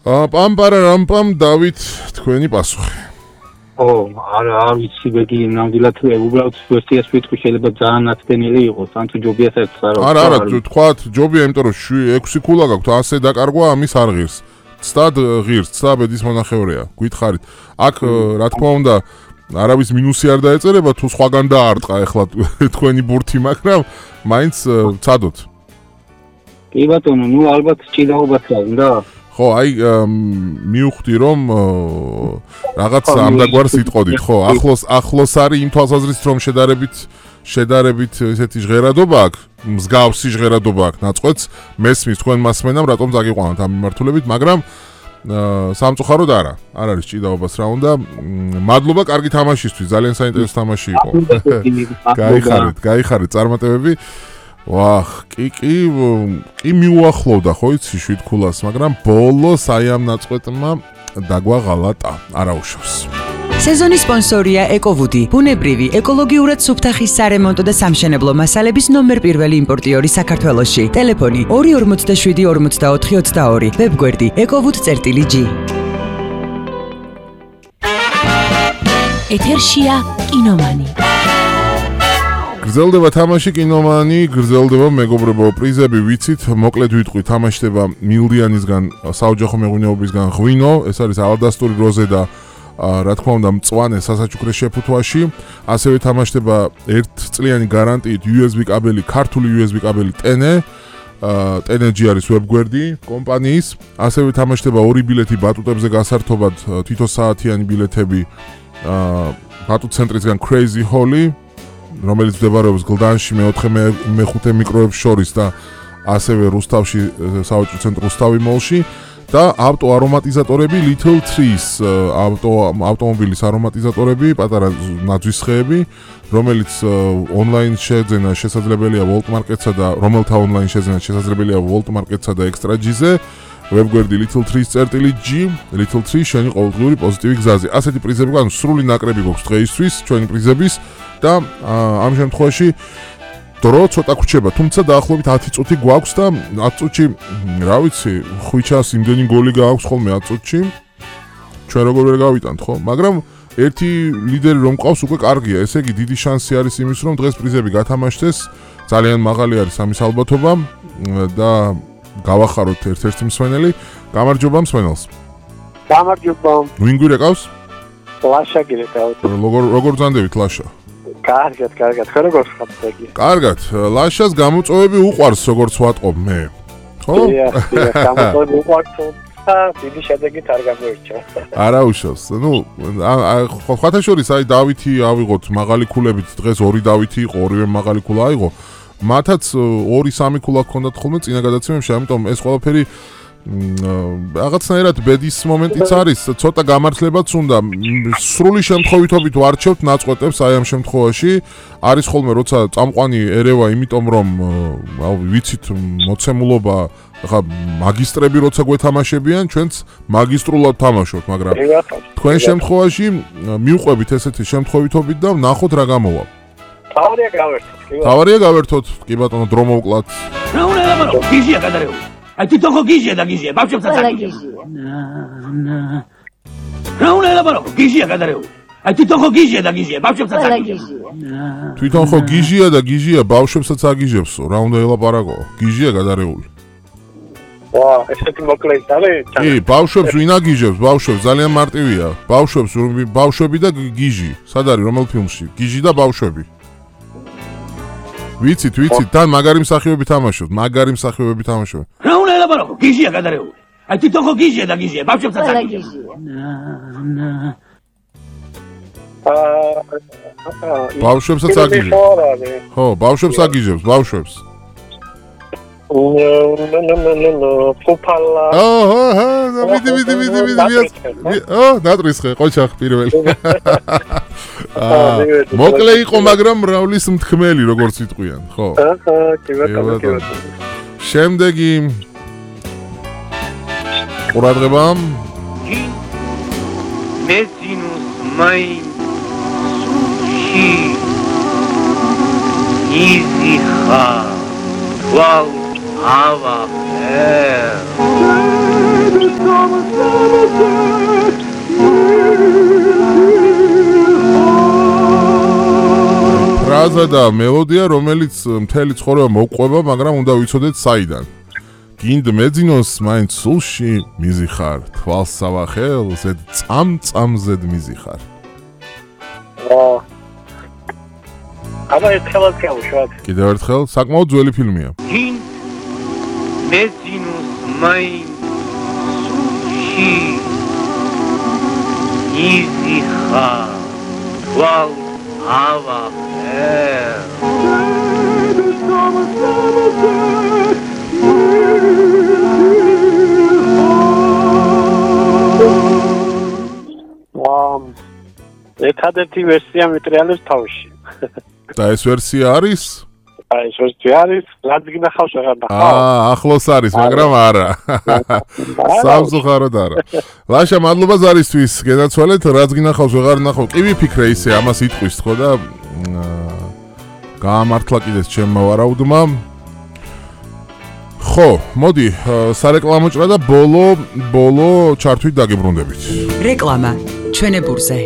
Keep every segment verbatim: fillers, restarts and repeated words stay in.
პამპარა რამპამ დავით თქვენი პასუხი. ო, არა, არ ვიცი, ბეგი ნამდვილად უბრალოდ ვერსიას ვიტყვი, შეიძლება ძალიან ნაცდენილი იყოს, ან თუ ჯობია საერთოდ არა. არა, არა, თქვათ, ჯობია, იმიტომ რომ ექვსი ქულა გაქვთ, ასე დაკარგვა ამის არ ღირს. ცდად ღირს, ცდა ბედის მონახევრია, გითხარით. აქ რა თქმა უნდა, არავის მინუსი არ დაეწერება, თუ სხვაგან დაარტყა ახლა თქვენი ბურთი, მაგრამ მაინც ცადოთ. კი ბატონო, ნუ ალბათ ჭიდაობაც უნდა. ხო, აი მივხვდი რომ რაღაც ამდაგვარს იტყოდით, ხო, ახლოს ახლოს არის იმ თვალსაზრისით რომ შედარებით შედარებით ესეთი ჟღერადობა აქვს, მსგავსი ჟღერადობა აქვს ნაწყვეტს, მესმის თქვენ მასმენამ რატომ წაგიყვანოთ ამ მიმართულებით, მაგრამ სამწუხაროდ არა, არ არის ჭიდაობას რა უნდა. მადლობა კარგი თამაშისთვის, ძალიან საინტერესო თამაში იყო. გაიხარეთ, გაიხარეთ წარმატებები. ვახ, კი კი კი მიუახლოვდა ხო იცი შვიდ ქულას, მაგრამ ბოლოს აი ამ ნაწყვეტმა დაგვაღალატა, არაუშავს. სეზონის სპონსორია ეკოვუდი, ბუნებრივი, ეკოლოგიურად სუფთახის სარემონტო და სამშენებლო მასალების ნომერ პირველი იმპორტიორი საქართველოში. ტელეფონი ორი ორმოცდაშვიდი ორმოცდაოთხი ოცდაორი, ვებგვერდი ეკოვუდ.გი. ეთერშია კინომანი. გრძელდება თამაში კინომანი, გრძელდება მეგობრებო პრიზები, ვიცით, მოკლედ ვიტყვი, თამაშდება მილდიანისგან, საოჯახო მეღვინეობისგან ღვინო, ეს არის ალდასტური როზე და რა თქმა უნდა მწვანე სასაჩუქრე შეფუთვაში, ასევე თამაშდება ერთწლიანი გარანტიით იუ ეს ბი კაბელი, ქართული იუ ეს ბი კაბელი ტენე, ტენეჯი არის ვებგვერდი კომპანიის, ასევე თამაშდება ორი ბილეთი ბატუტებზე გასართობად, თითო საათიანი ბილეთები ბატუტ ცენტრისგან Crazy Holly, რომელიც მდებარეობს გლდანში მეოთხე მეხუთე მიკროებს შორის და ასევე რუსთავში სავაჭრო ცენტრ რუსთავი მოლში და ავტო არომატიზატორები Little Trees ავტო ავტომობილის არომატიზატორები, პატარა ნაძვის ხეები, რომელიც ონლაინ შეძენა შესაძლებელია Volt Market-სა და რომელთა ონლაინ შეძენა შესაძლებელია Volt Market-სა და Extra G-ზე, ვებგვერდი Little Trees.G, Little Trees შენი ყოველდღიური პოზიტივი გზაზე. ასეთი პრიზები გვაქვს, სრული ნაკრები გვაქვს დღეისთვის, ჩვენი პრიზების და ამ შემთხვევაში დრო ცოტა გვჩება, თუმცა დაახლოებით ათი წუთი გვაქვს და ათი წუთში, რა ვიცი, ხვიჩას იმდენი გოლი გააქვს ხოლმე ათი წუთში. ჩვენ როგორ ვერ გავიტანთ, ხო? მაგრამ ერთი ლიდერი რომ ყავს უკვე კარგია, ესე იგი დიდი შანსი არის იმის, რომ დღეს პრიზები გათამაშდეს, ძალიან მაღალი არის ამის ალბათობა და გავახაროთ ერთ-ერთი მსმენელი. გამარჯობა მსმენელს. გამარჯობა. ვინ გვირეკავს? ლაშა გირეკავს. როგორ როგორ ძანდებით ლაშა? კარგად, კარგად. ხო როგორ ხართ იგი? კარგად. ლაშას გამოწვევები უყვარს, როგორც ვატყობ მე. ხო? დიახ, დიახ, გამოწვევები უყვარს. დიდი შედეგით არ გამოირჩა. არა უშავს. ნუ ხოთა შორის აი დავითი ავიღოთ მაღალი ქულებით, დღეს ორი დავითი იყო, ორივე მაღალი ქულა აიღო. მათაც ორი სამი ქულა ჰქონდათ ხოლმე წინა გადაცემებში, ამიტომ ეს ყველაფერი რაღაცნაირად ბედის მომენტიც არის, ცოტა გამართლებაც უნდა. სრული შემთხვევითობით ვარჩევთ ნაწყვეტებს აი ამ შემთხვევაში. არის ხოლმე როცა წამყვანი ერევა, იმიტომ რომ ვიცით მოცემულობა, ახლა მაგისტრები როცა გვეთამაშებიან, ჩვენც მაგისტრულად თამაშობთ, მაგრამ თქვენ შემთხვევაში მივყვებით ესეთი შემთხვევითობით და ვნახოთ რა გამოვა. თავარია გავერთოთ. თავარია გავერთოთ, კი ბატონო, დრო მოვკლათ. რა უნდა ელაპარაკო, გიჟია გადარეული. აი თვითონ ხო გიჟია და გიჟია, ბავშვებსაც აგიჟია. რა უნდა ელაპარაკო, გიჟია გადარეული. აი თვითონ ხო გიჟია და გიჟია, ბავშვებსაც აგიჟია. თვითონ ხო გიჟია და გიჟია, ბავშვებსაც აგიჟებსო. რა უნდა ელაპარაკო, გიჟია გადარეული. ვა, ესეთი მოკლეით არის? კი, ბავშვებს ვინ აგიჟებს, ბავშვებს ძალიან მარტივია. ბავშვებს, ბავშვები და გიჟი. სად არის რომელ ფილმში? გიჟი და ბავშვები. ვიცით, ვიცით, თან მაგარი მსახიობები თამაშობთ, მაგარი მსახიობები თამაშობთ. რა უნდა ელაპარაკო, გიჟია გადარეული. აი თვითონ ხო გიჟია და გიჟია, ბავშვებსაც აგიჟია. ბავშვებსაც აგიჟებს. ხო, ბავშვებს აგიჟებს, ბავშვებს. ნო ნო ნო ნო ნო ფოპალა. აჰა, აჰა, ვიდი ვიდი ვიდი ვიდი. ო, დატრისხე, ყოჩახ პირველი. მოკლე იყო, მაგრამ მრავლის მთქმელი, როგორც იტყვიან, ხო? აჰა, კი ბატონო, კი ბატონო. შემდეგი ყურადღება. მეძინუს მაინ სუში იზიხა ვალ ава э სიმღერა და მელოდია, რომელიც მთელი ცხოვრება მოგყვება, მაგრამ უნდა ვიცოდეთ საიდან. გინდ მეძინოს მაინც სულში მიზიხარ, თვალს სავახელ, ზედ წამ-წამზედ მიზიხარ. აა აბა ერთხელაც გავუშვათ. კიდევ ერთხელ, საკმაოდ ძველი ფილმია. გინდ მეძინოს მაინც სულში მიზიხარ, თვალს სავახელ. ვამ ერთადერთი ვერსია მიტრიალებს თავში. და ეს ვერსია არის? აი ეს ვერსია არის, რაც გინახავს აღარ ნახავ. აა, ახლოს არის, მაგრამ არა. სამწუხაროდ არა. ლაშა, მადლობა ზარისთვის, გენაცვალეთ, რაც გინახავს აღარ ნახავ. კი ვიფიქრე ისე, ამას იტყვის თქო და გაამართლა კიდეც ჩემმა ვარაუდმა. ხო, მოდი, სარეკლამო ჭრა და ბოლო, ბოლო ჩართვით დაგებრუნდებით. რეკლამა ჩვენებურზე.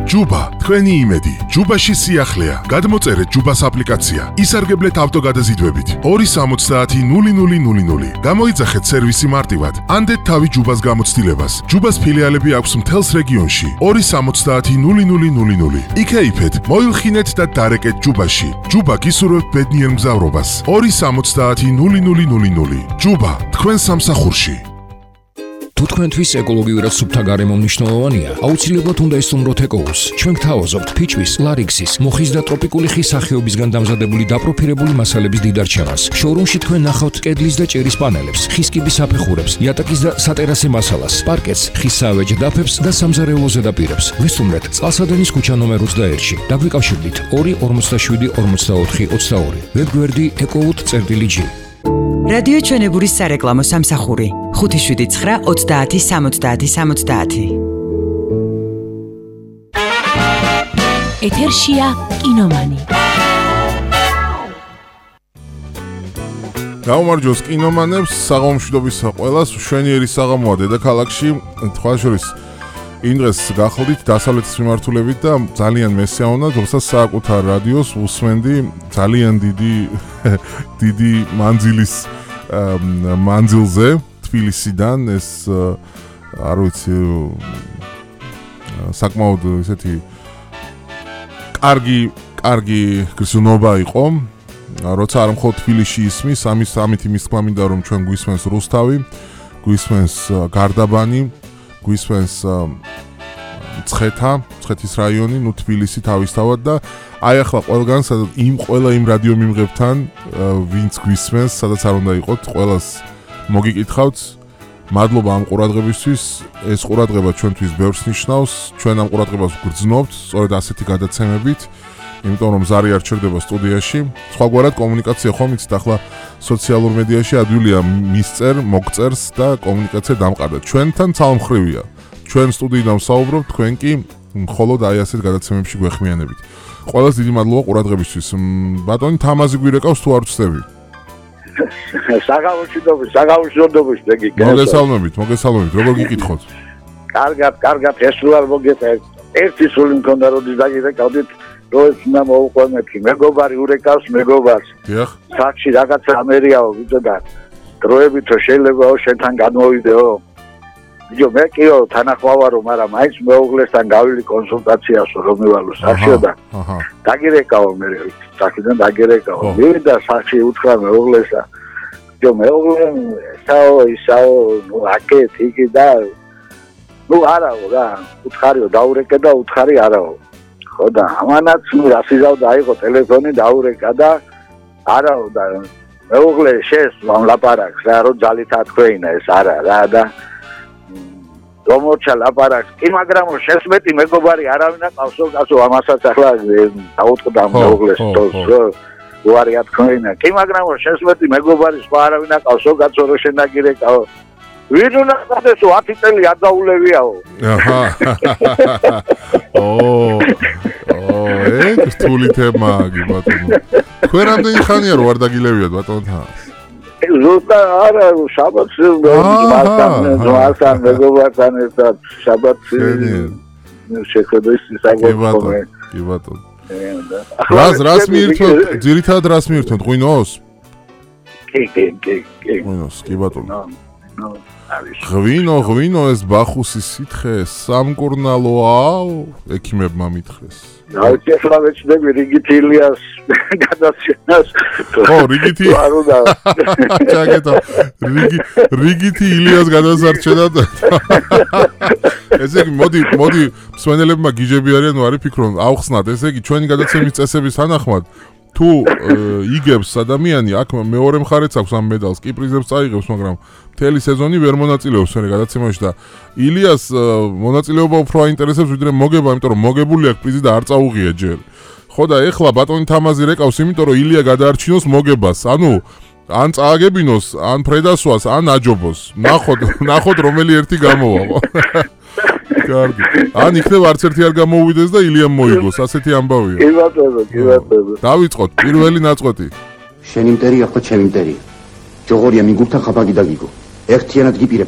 ჯუბა, თქვენი იმედი. ჯუბაში სიახლეა. გადმოწერეთ ჯუბას აპლიკაცია. ისარგებლეთ ავტოგადაზიდვებით. ორი სამოცდაათი ნული ნული ნული ნული. გამოიძახეთ სერვისი მარტივად. ანდეთ თავი ჯუბას გამოცდილებას. ჯუბას ფილიალები აქვს მთელს რეგიონში. ორი სამოცდაათი ნული ნული ნული ნული. იქეიფეთ, მოილხინეთ და დარეკეთ ჯუბაში. ჯუბა გისურვებთ ბედნიერ მგზავრობას. ორი სამოცდაათი ნული ნული ნული ნული. ჯუბა, თქვენ სამსახურში. თუ თქვენთვის ეკოლოგიურად სუფთა გარემო მნიშვნელოვანია, აუცილებლად უნდა ესტუმროთ ეკოუს. ჩვენ გთავაზობთ ფიჭვის, ლარიქსის, მოხის და ტროპიკული ხის სახეობისგან დამზადებული დაპროფილებული მასალების დიდარჩევას. შოურუმში თქვენ ნახავთ კედლის და ჭერის პანელებს, ხის კიბის აფეხურებს, იატაკის და სატერასე მასალას, პარკეტს, ხის საავეჯ დაფებს და სამზარეულო ზედაპირებს. ვესტუმრეთ წყალსადენის ქუჩა ნომერ ოცდაერთში. დაგვიკავშირდით ორი ორმოცდაშვიდი ორმოცდაოთხი ოცდაორი. ვებგვერდი ეკოუთ.წერტილი-ჯი. რადიო ჩვენებურის სარეკლამო სამსახური ხუთი შვიდი ცხრა ოცდაათი სამოცდაათი სამოცდაათი. ეთერშია კინომანი. გაუმარჯოს კინომანებს, საღამომშვიდობის ყველას, მშვენიერი საღამოა დედაქალაქში, თქვა შორის იმ დღეს გახლდით დასავლეთის მიმართულებით და ძალიან მესიაუნა, თუმცა საკუთარ რადიოს უსმენდი ძალიან დიდი დიდი მანძილის მანძილზე თბილისიდან, ეს არ ვიცი საკმაოდ ესეთი კარგი კარგი გრძნობა იყო, როცა არ მხოლოდ თბილისში ისმის, ამის ამით იმის თქმა მინდა რომ ჩვენ გვისმენს რუსთავი, გვისმენს გარდაბანი, გვისმენს ცხეთა, ცხეთის რაიონი, ნუ თბილისი თავისთავად და აი ახლა ყველგან იმ ყველა იმ რადიო მიმღებთან ვინც გვისმენს, სადაც არ უნდა იყოთ, ყველას მოგიკითხავთ. მადლობა ამ ყურადღებისთვის. ეს ყურადღება ჩვენთვის ბევრს ნიშნავს. ჩვენ ამ ყურადღებას გვგრძნობთ, სწორედ ასეთი გადაცემებით, იმიტომ რომ ზარი არ ჩერდება სტუდიაში. სხვაგვარად კომუნიკაცია ხომ იცით, ახლა სოციალურ მედიაში ადვილია მისწერ, მოგწერს და კომუნიკაცია დამყარდა. ჩვენთან ცალმხრივია. ჩვენ სტუდიიდან ვსაუბრობთ, თქვენ კი მხოლოდ აი ასეთ გადაცემებში გვეხმიანებით. ყველას დიდი მადლობა ყურადღებისთვის. ბატონი თამაზი გვირეკავს თუ არ ვწდები? საგამოშვიდობის, საგამოშვიდობის დეგი. მოგესალმებით, მოგესალმებით. როგორ გიკითხოთ? კარგად, კარგად, ეს არ მოგეწევ. ერთი სული მქონდა როდის დაგირეკავდით, რომ ეს უნდა მოუყვემეთი. მეგობარი ურეკავს მეგობარს. დიახ. საჩი რაღაცა ამერიაო ვიწოდა. დროებითო შეიძლება შენთან განმოვიდეო. იო მე კიო თანახვავარო, მაგრამ მაინც მეუღლესთან გავილი კონსულტაციასო რომ მივალო სახშო და დაგირეკავ მე სახიდან დაგირეკავ. მივიდა სახში უთხრა მეუღლესა. იო მეუღლე საო ისაო ნუ აკეთ იგი და ნუ არაო რა, უთხარიო დაურეკე და უთხარი არაო. ხო და ამანაც ნუ რასიზავ დაიღო ტელეფონი დაურეკა და არაო და მეუღლე შეს ლაპარაკს რა, რომ ძალით ათქვეინა ეს არა რა და რომორჩა ლაპარაკს. კი მაგრამ შესმეტი მეგობარი არავინ აკავსო, კაცო ამასაც ახლა დაუტყდა მეუღლეს თოს უარი ათქვეინა. კი მაგრამ შესმეტი მეგობარი სხვა არავინ აკავსო, კაცო რო შენაგირეკავ. ვინ უნდა გადასო ათი წელი არ დაულევიაო. აჰა. ო ო ეს რთული თემაა კი ბატონო. თქვენ რამდენი ხანია რო არ დაგილევიათ ბატონთან? ზუსტად არა, შაბათს მასთან მეგობართან ერთად შაბათს შეხედვის საგებია. კი ბატონო. რას რას მიირთმევთ? ძირითადად რას მიირთმევთ? ღვინოს? კი, კი, კი, კი. ღვინოს, კი ბატონო. ნო, ნო, არის. ღვინო, ღვინო ეს ბახუსის სითხე სამკურნალოა, ექიმებმა მითხრეს. დავით ახლა ვეცდები რიგით ილიას გადაცემას. ო, რიგითი. არ უნდა. ჩაკეტო. რიგი რიგითი ილიას გადასარჩენად. ესე იგი, მოდი, მოდი, მსმენელებმა გიჟები არიან, ნუ არის ფიქრობ, ავხსნათ, ესე იგი, ჩვენი გადაცემის წესების თანახმად თუ იგებს ადამიანი, აქ მეორე მხარეც აქვს ამ მედალს, კი პრიზებს წაიღებს, მაგრამ მთელი სეზონი ვერ მონაწილეობს მე გადაცემაში და ილიას მონაწილეობა უფრო აინტერესებს ვიდრე მოგება, იმიტომ რომ მოგებული აქვს პრიზი და არ წაუღია ჯერ. ხო და ეხლა ბატონი თამაზი რეკავს, იმიტომ რომ ილია გადაარჩინოს მოგებას. ანუ ან წააგებინოს, ან ფრედასვას, ან აჯობოს. ნახოთ, ნახოთ რომელი ერთი გამოვა. კარგი. ან იქნებ არც ერთი არ გამოუვიდეს და ილიამ მოიგოს, ასეთი ამბავია. კი ბატონო, კი ბატონო. დავიწყოთ პირველი ნაწყვეტი. შენი მტერია ხო ჩემი მტერია. ჯოღორია მიგურთა ხაბაგი და გიგო. ერთიანად გიპირებ